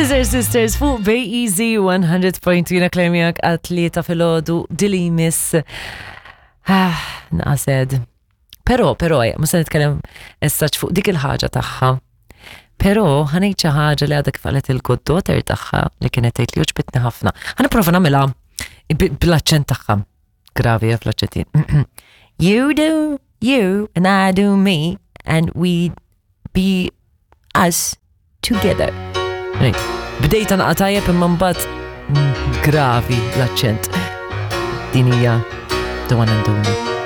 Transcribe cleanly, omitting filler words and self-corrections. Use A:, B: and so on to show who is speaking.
A: Scissor Sisters fuq Bay Easy 100.2 jiena klermijak għat-tlieta filgħodu dili miss. Ah, naqased. Però, però, ma se nitkellem issa fuq dik il-ħaġa tagħha. Però ħanejt xi ħaġa li għadha kif qalet il-good daughter tagħha li kienet tgħid li għoġbitni ħafna. Ħa nipprova nagħmilha bl-aċċent tagħha. Gravi eh, fl-aċċentin. You do you and I do me and we be us together. Bdejta naqa' tajjeb imma mbagħad gravi l-aċċent. Din hija the one and only.